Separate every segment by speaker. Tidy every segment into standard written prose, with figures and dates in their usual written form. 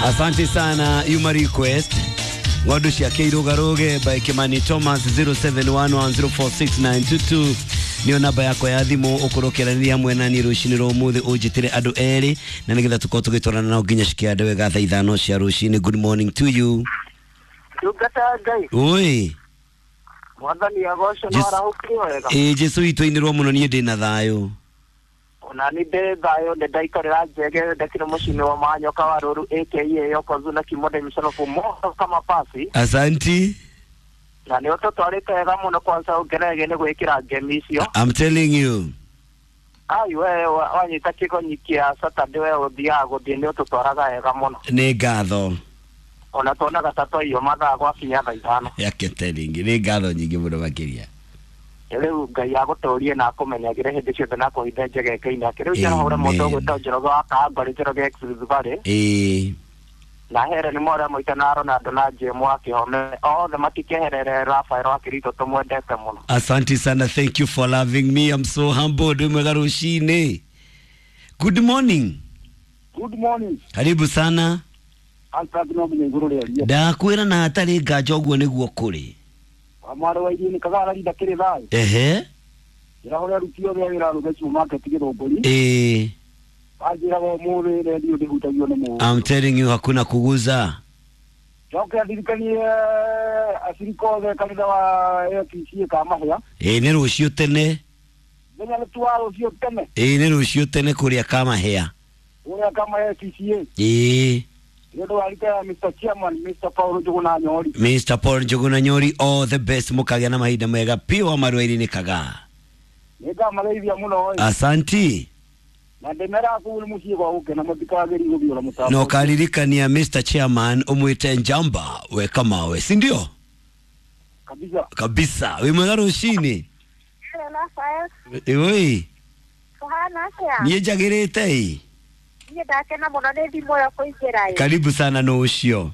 Speaker 1: Asante sana Yuma request ng'ondu ciake irũgarũge by Kimani Thomas 0711046922 nĩyo namba yakwa ya thimũ ũkorwo ũkĩaranĩria hamwe na niĩ rũcinĩ rwa ũmũthĩ ũnjĩtĩre andũ erĩ na nĩgetha tũkorwo tũgĩtwarana nao nginya cikĩande wega thaa 5 cia rũcinĩ. Good morning to you.
Speaker 2: Ndungata ya Ngai.
Speaker 1: Oi.
Speaker 2: Mwathani agocwo no arahũkire wega.
Speaker 1: Ĩĩ Jesũ witũ ainĩrwo mũno niĩ ndĩna thayũ.
Speaker 2: Ona ni ndĩ thayũ nĩ ndaikarĩra njege ndekire mũciĩ wa Manyoka wa Rũru aka Yokozuna Kimode Msalofu moto kama pasi.
Speaker 1: Asanti.
Speaker 2: Na nĩ ũtũtwarĩte wega mũno kwanza ũngeregie nĩ gwĩkĩra ngemi icio.
Speaker 1: I'm telling you.
Speaker 2: Ai we wanyita kĩgonyi kĩa Saturday we ũthiaga gũthiĩ nĩ ũtũtwaraga wega mũno.
Speaker 1: Nĩ ngatho.
Speaker 2: Ona tuonaga ta twaiywo mathaa gwakinya thaa 5.
Speaker 1: Yake telling nĩ ngatho nyingĩ mũno makĩria.
Speaker 2: Rĩu Ngai agũtũrie na akũmenyagĩre hĩndĩ ciothe na akũhithe njegeke-inĩ ake. Rĩu njahũra mũndũ ũgwĩtwo Njoroge wa Kangori, Njoroge ex Rift Valley.
Speaker 1: Ĩĩ.
Speaker 2: Na here nĩ mora mũita na Ronaldo na Jemu wa Kĩhome othe matikeherere Rafael wa Kirito tũmwendete mũno.
Speaker 1: Asante sana, thank you for loving me. I'm so humbled. Mwega rũcinĩ. Good morning.
Speaker 3: Good morning.
Speaker 1: Karibu sana.
Speaker 3: Alfred no nginya igũrũ rĩaria.
Speaker 1: Ndakwĩra na hatarĩ nganja ũguo nĩguo kũrĩ.
Speaker 3: Mwarĩ wa iria nĩ kagara rinda kĩrĩ thayũ.
Speaker 1: Ehe.
Speaker 3: Ndĩrahũra aruti othe a wĩra Rũge supermarket Gĩthũngũri.
Speaker 1: Ĩĩ.
Speaker 3: Wanjĩraga ũmũthĩ redio ndĩhutagio nĩ mũndũ.
Speaker 1: I'm telling you hakuna kuguza.
Speaker 3: Njoke ndirikanie acirika othe kanitha wa APC Kamahĩa.
Speaker 1: Ĩĩ nĩ rũciũ tene.
Speaker 3: Mũthenya nĩ tu wa rũciũ tene.
Speaker 1: Ĩĩ nĩ rũciũ tene kũrĩa Kamahĩa.
Speaker 3: Kũrĩa Kamahĩa APCA.
Speaker 1: Ĩĩ.
Speaker 3: Nĩ ũndũ wa rika ya Mr. Chairman Mr. Paul Njuguna Nyori.
Speaker 1: Mr. Paul Njuguna Nyori, all the best, mũkagĩa na mahinda mega piũ wa marwairi nĩ kagaa.
Speaker 3: Nĩ ngamageithia mũno ĩ.
Speaker 1: Asanti.
Speaker 3: Na ndĩmeraga kũu nĩ mũciĩ gwa gũkena mũtikagĩrie gũthiũra mũtambo.
Speaker 1: Na ũkaririkania Mr. Chairman ũmwĩte Njamba weka mawe, si ndio?
Speaker 3: Kabisa.
Speaker 1: Kabisa. Wĩ mwega rũcinĩ.
Speaker 4: Hello, Rafael.
Speaker 1: Oi.
Speaker 4: Kũhana atĩa?
Speaker 1: Niĩ njagĩrĩte ĩ.
Speaker 4: Niĩ ndakena mũno nĩ thimũ ĩyo kũingĩra ĩ.
Speaker 1: Karibu sana no ũcio.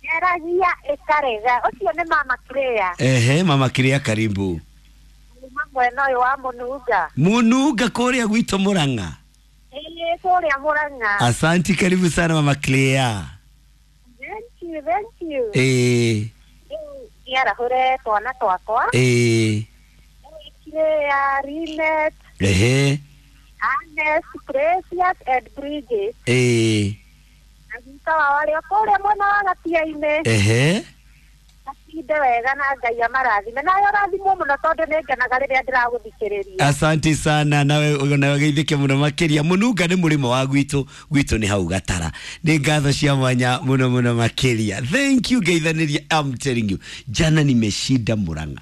Speaker 4: Ngeragia ĩkarega. Ũcio nĩ mama Claire.
Speaker 1: Ehe, mama Claire karibu.
Speaker 4: Kuma mwena ũyũ wa Mũnunga.
Speaker 1: Mũnunga kũrĩa gwitũ Mũrang'a.
Speaker 4: Ĩĩ kũrĩa Mũrang'a.
Speaker 1: Asanti, karibu sana mama Claire.
Speaker 4: Thank you, thank you.
Speaker 1: Ĩĩ.
Speaker 4: Rĩu nĩarahũre twana twakwa.
Speaker 1: Ĩĩ.
Speaker 4: Claire, Rinet,
Speaker 1: Ehe.
Speaker 4: Agnes, Precious and Bridget.
Speaker 1: Ĩĩ.
Speaker 4: Na guka wao arĩ o kũrĩa mwena wa Gatia-inĩ.
Speaker 1: Ehe.
Speaker 4: Matinde wega na Ngai amarathime. Nawe ũrathimwo mũno tondũ nĩ ngenaga rĩrĩa ndĩragũthikĩrĩria.
Speaker 1: Asante sana nawe nawe geithĩke mũno makĩria. Mũnunga nĩ mũrĩmo wa gwitũ, gwitũ nĩ hau Gatara. Nĩ ngatho cia mwanya mũno mũno makĩria. Thank you ngeithanĩria. I'm telling you, jana nimeshinda Murang'a.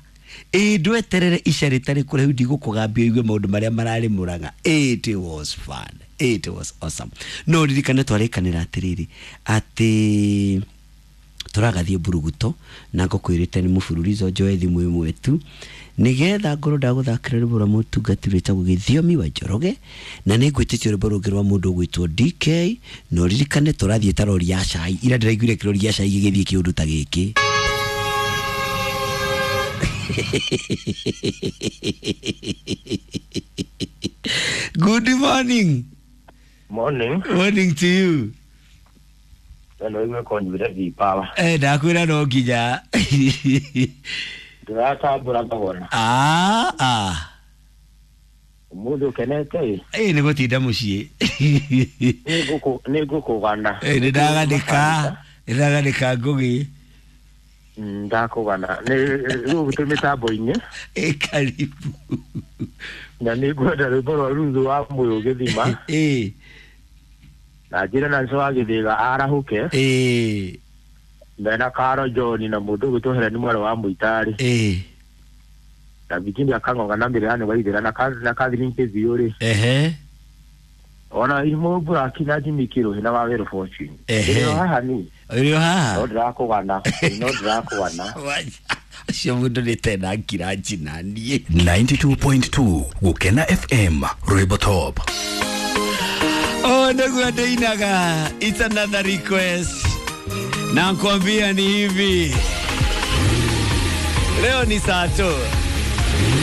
Speaker 1: Ĩĩ ndweterere ica rĩtarĩ kũraihu ndigũkũgambia ũigue maũndũ marĩa mararĩ Murang'a. It was fun. It was awesome. No ririkane twarĩkanĩra atĩrĩrĩ atĩ tũragathiĩ mburuguto na ngũkwĩrĩte nĩ mũbururizo njoe thimũ ĩmwe tu nĩgetha ngorwo ndagũthakĩra rwĩmbo rwa mũtungati rwĩtagwo Gĩthiomi wa Njoroge na nĩ ngwĩtĩtie rwĩmbo rũngĩ rwa mũndũ ũgwĩtwo DK na ũririkane tũrathiĩ ta rori ya cai ira ndĩraiguire kĩrori gĩa cai gĩgĩthiĩ kĩũndũ ta gĩkĩ. Good morning.
Speaker 5: Morning.
Speaker 1: Morning to you.
Speaker 5: No igue kũnyuire vipawa.
Speaker 1: Eh, ndakwĩra no nginya.
Speaker 5: Ndĩratambũra thogora.
Speaker 1: Ah, ah.
Speaker 5: Ũmũthĩ ũkenete ĩ?
Speaker 1: Ĩ nĩ gũtinda mũciĩ.
Speaker 5: Nĩ ngũkũgana.
Speaker 1: Ĩ nĩ ndaganĩka, nĩ ndaganĩka ngũgĩ.
Speaker 5: Ndakũgana. Nĩ rĩu twĩ mĩtambo-inĩ.
Speaker 1: Ĩ karibu.
Speaker 5: Na nĩ ngwenda rwĩmbo rwa Ruthu wa Mũyũ gĩthima.
Speaker 1: Ĩ.
Speaker 5: Na njĩre Nancy wa Gĩthĩga arahũke.
Speaker 1: Ĩ.
Speaker 5: Mena Karo John na mũndũ ũgwĩtwo Helen mwarĩ wa Mũitarĩ.
Speaker 1: Ĩ.
Speaker 5: Na Virginia Kang'ong'a na Mĩrĩani wa Ithĩra na Catherine Kĩthiũrĩ.
Speaker 1: Ehe.
Speaker 5: Ona Imo Buraki na Jimmy Kĩrũhĩ na Wawerũ Fortune.
Speaker 1: Ehe.
Speaker 5: Ndĩrĩ o haha niĩ.
Speaker 1: Ũrĩ o haha?
Speaker 5: No ndĩrakũgana. No ndĩrakũgana.
Speaker 1: Ũcio mũndũ nĩ tena ngira njina niĩ.
Speaker 6: 92.2 Gukena FM Rwimbo Top.
Speaker 1: Oh, ndugu Adeinaga, it's another request. Na nkwambia ni hivi. Leo ni saa tu.